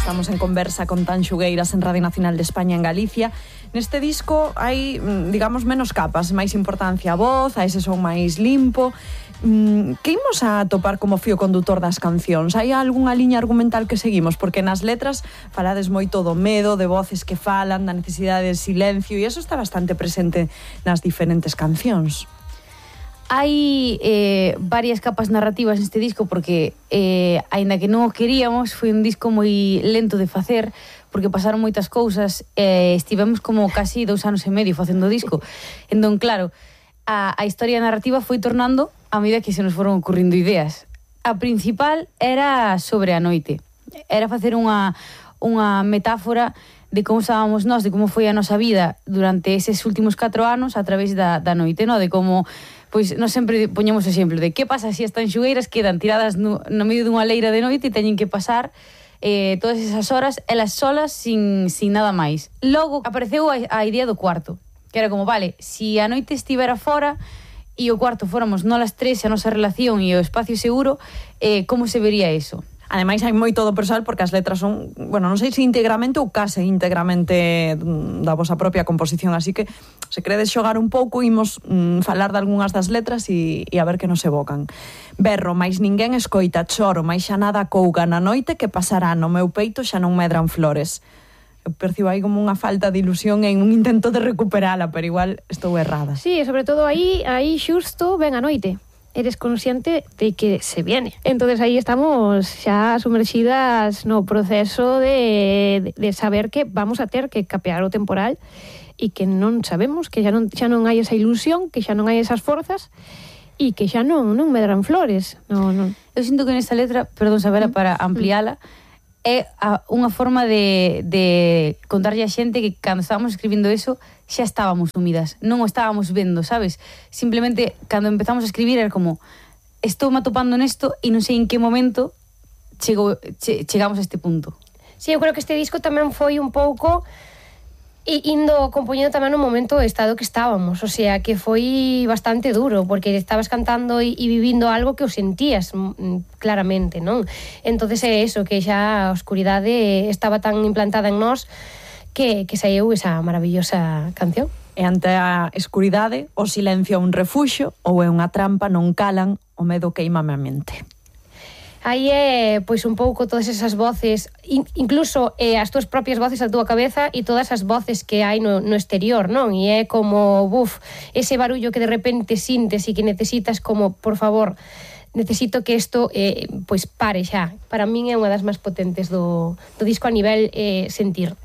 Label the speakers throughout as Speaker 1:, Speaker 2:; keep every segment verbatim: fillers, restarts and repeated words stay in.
Speaker 1: Estamos en conversa con Tan Xugueiras en Radio Nacional de España en Galicia. Neste disco hai, digamos, menos capas, máis importancia a voz, a ese son máis limpo. Que imos a topar como fío condutor das cancións? Hai algunha liña argumental que seguimos? Porque nas letras falades moito do medo, de voces que falan, da necesidade de silencio, e eso está bastante presente nas diferentes cancións.
Speaker 2: Hai eh, varias capas narrativas neste disco porque, eh, aínda que non o queríamos, foi un disco moi lento de facer porque pasaron moitas cousas e eh, estivemos como casi dous anos e medio facendo o disco. Entón, claro, a, a historia narrativa foi tornando a medida que se nos foron ocurrindo ideas. A principal era sobre a noite. Era facer unha, unha metáfora de como estábamos nós, de como foi a nosa vida durante eses últimos catro anos a través da, da noite, no? De como, pois, nós sempre poñemos o exemplo de que pasa se as tanxugueiras quedan tiradas no, no medio dunha leira de noite e teñen que pasar eh, todas esas horas, elas solas, sin, sin nada máis. Logo apareceu a, a idea do cuarto, que era como, vale, si a noite estivera fora e o cuarto fóramos nolas tres, a nosa relación e o espacio seguro, eh, como se vería eso?
Speaker 1: Ademais, hai moito do persoal porque as letras son, bueno, non sei se íntegramente ou case íntegramente da vosa propia composición, así que se queredes xogar un pouco, imos mm, falar de algunhas das letras e, e a ver que nos evocan. Berro, máis ninguén escoita, choro, máis xa nada couga na noite que pasará no meu peito xa non medran flores. Eu percibo aí como unha falta de ilusión en un intento de recuperala, pero igual estou errada.
Speaker 3: Sí, sobre todo aí, aí xusto ven a noite. Eres consciente de que se viene. Entonces aí estamos xa sumerxidas no proceso de, de saber que vamos a ter que capear o temporal e que non sabemos, que xa non, xa non hai esa ilusión, que xa non hai esas forzas e que xa non, non medran flores. No, non.
Speaker 2: Eu sinto que nesta letra, perdón, Sabela, para ampliala, é a, unha forma de, de contarlle a xente que cando estábamos escribindo eso xa estábamos sumidas, non o estábamos vendo, sabes? Simplemente cando empezamos a escribir era como estou me atopando nesto e non sei en que momento chego, che, chegamos a este punto.
Speaker 3: Sí, eu creo que este disco tamén foi un pouco e indo compoñendo tamén no momento o estado que estábamos, o sea, que foi bastante duro, porque estabas cantando e, e vivindo algo que o sentías mm, claramente, non? Entonces é eso, que xa a oscuridade estaba tan implantada en nós que, que saiu esa maravillosa canción.
Speaker 1: E ante a escuridade, o silencio é un refuxo ou é unha trampa, non calan, o medo queimame a mente.
Speaker 3: Aí é, pois, un pouco todas esas voces, in, incluso eh, as túas propias voces a túa cabeza e todas as voces que hai no, no exterior, non? E é como, buf, ese barullo que de repente sintes e que necesitas como, por favor, necesito que isto, eh, pois, pare xa. Para min é unha das máis potentes do, do disco a nivel eh, sentir.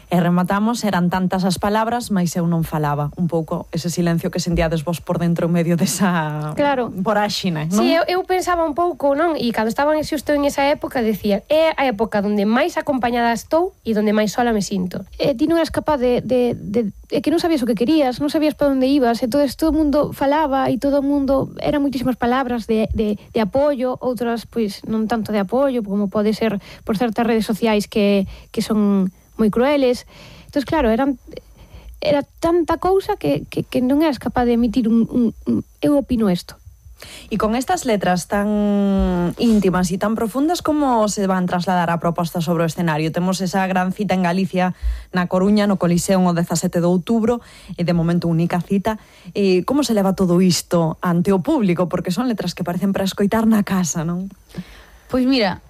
Speaker 1: E rematamos, eran tantas as palabras, mais eu non falaba. Un pouco ese silencio que sentíades vos por dentro en medio desa
Speaker 3: claro.
Speaker 1: voráxina, non?
Speaker 3: Sí, eu, eu pensaba un pouco, non? E cando estaba xusto en esa época, decía, é a época onde máis acompañada estou e onde máis sola me sinto. E ti non eras capaz de, de, de, de que non sabías o que querías, non sabías para onde ibas, entonces todo o mundo falaba e todo o mundo, eran moitísimas palabras de, de, de apoio, outras, pois, non tanto de apoio, como pode ser por certas redes sociais que, que son moi crueles. Entón, claro, eran, era tanta cousa que, que, que non eras capaz de emitir un, un, un eu opino isto.
Speaker 1: E con estas letras tan íntimas e tan profundas, como se van trasladar a proposta sobre o escenario? Temos esa gran cita en Galicia, na Coruña, no Coliseo, o dezasete de outubro, e de momento única cita. E como se leva todo isto ante o público? Porque son letras que parecen para escoitar na casa, non?
Speaker 2: Pois mira,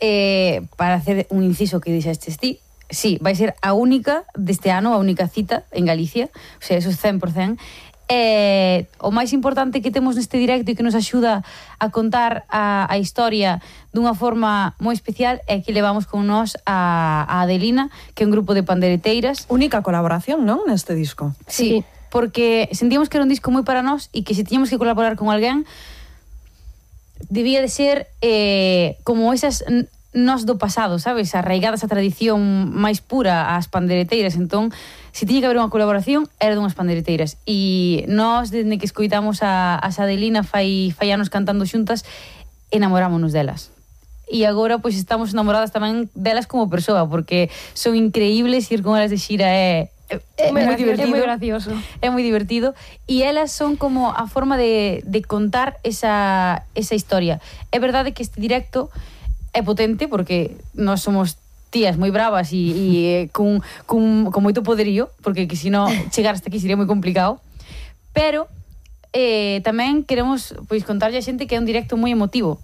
Speaker 2: eh, para hacer un inciso que dixestes ti, sí, vai ser a única deste ano, a única cita en Galicia, o sea, eso é cen por cen. Eh, o máis importante que temos neste directo e que nos axuda a contar a, a historia dunha forma moi especial é que levamos con nós a, a Adelina, que é un grupo de pandereteiras.
Speaker 1: Única colaboración, non, neste disco?
Speaker 2: Sí, sí, porque sentíamos que era un disco moi para nós e que se tiñamos que colaborar con alguén debía de ser eh, como esas nós do pasado, sabes? Arraigadas a tradición máis pura ás pandereteiras. Entón, se tiña que haber unha colaboración, era dunhas pandereteiras. E nós, desde que escoitamos a, a Adelina fai, fai anos cantando xuntas, enamorámonos delas. E agora, pois, estamos enamoradas tamén delas como persoa, porque son increíbles, ir con elas de xira é...
Speaker 3: É, é moi divertido, é moi gracioso.
Speaker 2: É moi divertido. E elas son como a forma de, de contar esa, esa historia. É verdade que este directo é potente porque nós somos tías moi bravas e, e cun, cun, con moito poderío, porque que se non chegar hasta aquí sería moi complicado, pero eh, tamén queremos pois contarlle a xente que é un directo moi emotivo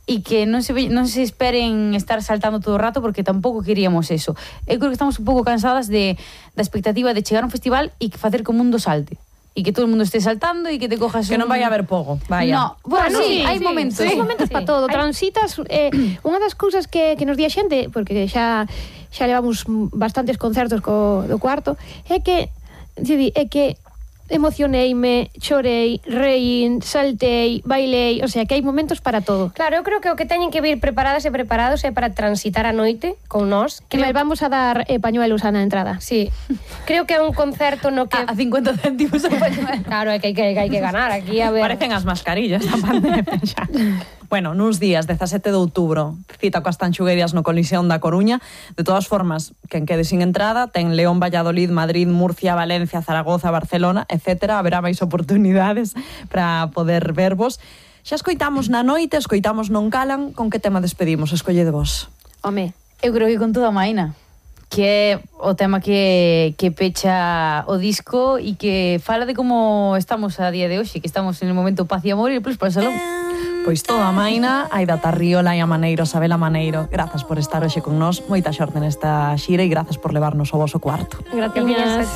Speaker 2: e que non se, ve, non se esperen estar saltando todo o rato, porque tampouco queríamos eso. Eu creo que estamos un pouco cansadas de, da expectativa de chegar a un festival e facer que o mundo salte. E que todo o mundo este saltando e que te cojas
Speaker 1: que
Speaker 2: un...
Speaker 1: non vai a haber pogo, vaya.
Speaker 2: No, bueno,
Speaker 3: Bueno,
Speaker 2: sí,
Speaker 3: sí,
Speaker 2: hai
Speaker 3: sí,
Speaker 2: momentos.
Speaker 3: sí.
Speaker 2: Hai
Speaker 3: momentos para todo. Transitas, eh, unha das cousas que, que nos di a xente, porque xa xa levamos bastantes concertos co, do cuarto, é que, é que emocioneime, chorei, reín, saltei, bailei, o sea, que hai momentos para todo.
Speaker 4: Claro, eu creo que o que teñen que vir preparadas e preparados é para transitar a noite con nós.
Speaker 3: Que
Speaker 4: Creo...
Speaker 3: vamos a dar eh, pañuelos á na entrada.
Speaker 4: Sí. Creo que é un concerto no que...
Speaker 2: A, a cincuenta céntimos a pañuelo.
Speaker 4: Claro, é que hai que, que, hai que ganar aquí, a ver...
Speaker 1: Parecen as mascarillas da pandemia xa. Bueno, nuns días, dezasete de outubro, cita coas Tanxuguerias no Colisión da Coruña. De todas formas, quen quede sin entrada, ten León, Valladolid, Madrid, Murcia, Valencia, Zaragoza, Barcelona, etcétera. Haberá máis oportunidades para poder vervos. Xa escoitamos na noite, escoitamos Non Calan. Con que tema despedimos? Escolle de vos.
Speaker 3: Home,
Speaker 2: Eu creo que con toda a Maina, que é o tema que, que pecha o disco e que fala de como estamos a día de hoxe, que estamos en el momento paz e amor e plus para o salón.
Speaker 1: Pois toda a Maina, Aida Tarriola e a Maneiro, Sabela Maneiro. Grazas por estar hoxe con nós, moita xorte nesta xira e grazas por levarnos ao voso cuarto.
Speaker 3: gratiñas.